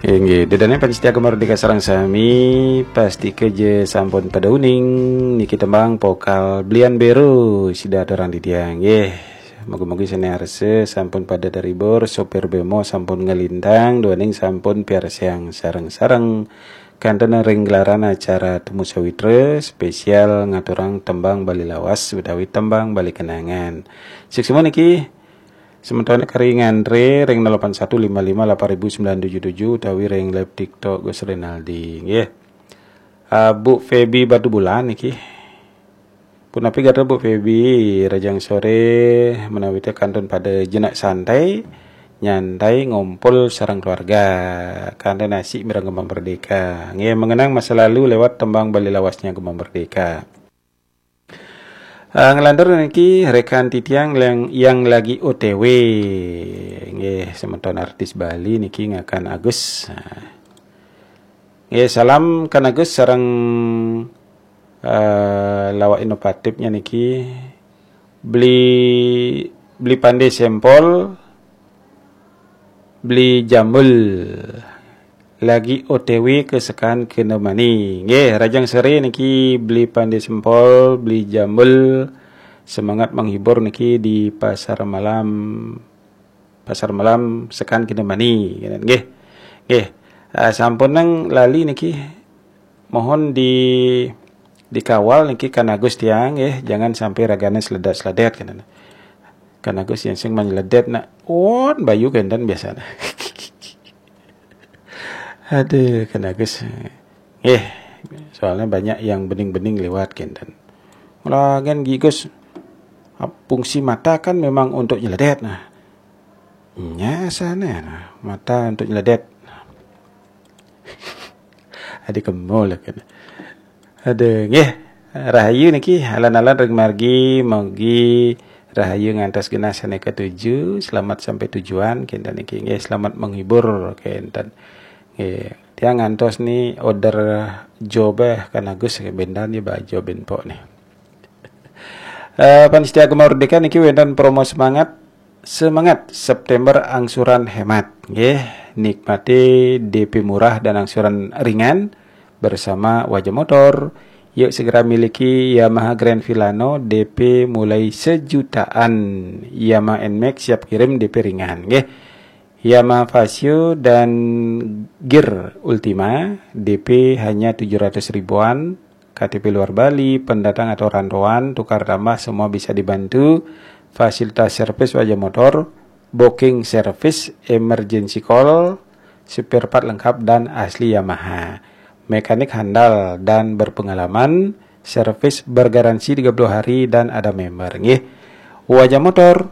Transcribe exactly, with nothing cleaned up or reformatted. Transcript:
Inggih, ida dané pamiarsa Gema Merdeka sareng sami, pastika ja sampun pada uning niki tembang vokal Blian Bero sida aturang titiang. Nggih, mugi-mugi sané arsa sampun pada terhibur, sopir bemo sampun nglintang, duaning sampun piarsayang sareng-sareng. Kantun ring gelaran acara Temu Sawitra spesial ngaturang tembang Bali Lawas utawi tembang Bali Kenangan. Suksma niki semeton kari ngantré ring nol delapan satu lima lima lapan ribu sembilan tujuh tujuh utawi ring live TikTok Gus Rinaldi nggih. Ah, Bu Feby Batubulan niki. Punapi gatra Bu Feby, rahajeng soré menawi té kantun pada jenak santai, nyantai ngumpul sareng keluarga. Kantun asik mireng Gema Merdeka. Nggih, mengenang masa lalu lewat tembang Bali Lawasnya Gema Merdeka. Ah, nglantur niki rekan titiang yang, yang lagi O T W. Nggih, semeton artis Bali niki ngakan Agus. Ah. Nggih, salam Kan Agus sareng, eh, lawak inovatifnya niki. Beli, beli pandé sempol, beli jambul. Lagi O T W ke Sekan Kintamani. Nggih, rahajeng soré niki beli pandé sempol, beli jambul, semangat menghibur niki di pasar malam, pasar malam Sekan Kintamani, nggih. Nggih. Ah, sampun nang lali niki mohon di, dikawal niki Kan Agus tiang nggih, jangan sampai ragané seledet-seledet, kénten. Kan Agus yang sing manyeledet nak, won bayu kénten biasanya. Aduh, Kan Agus. Nggih, soalnya banyak yang bening-bening lewat kénten. Lagian Gigus, fungsi mata kan memang untuk nyeledet nah. Nya sané nah, mata untuk nyeledet. Adi kemo lah kan. Aduh, nggih. Rahayu niki, alon-alon ring margi, mugi rahayu ngantos genah sané katuju, selamat sampai tujuan, kénten niki. Nggih, selamat menghibur, kénten. Nggih, tiang ngantos ni order job eh, Kan Agus, bendan ya baju benpok ni. Eh, pamiarsa Gema Merdeka niki wénten promo semangat, semangat September angsuran hemat. Nggih, nikmati D P murah dan angsuran ringan bersama Wajah Motor. Yuk segera miliki Yamaha Grand Filano, D P mulai sejutaan. Yamaha Nmax siap kirim, D P ringan, nggih. Yamaha Fazzio dan Gear Ultima, D P hanya tujuh ratus ribuan. K T P luar Bali, pendatang atau rantauan, tukar tambah, semua bisa dibantu. Fasilitas servis Wajah Motor, booking service, emergency call, spare part lengkap dan asli Yamaha. Mekanik handal dan berpengalaman, servis bergaransi tiga puluh hari dan ada member, nggih. Wajah Motor,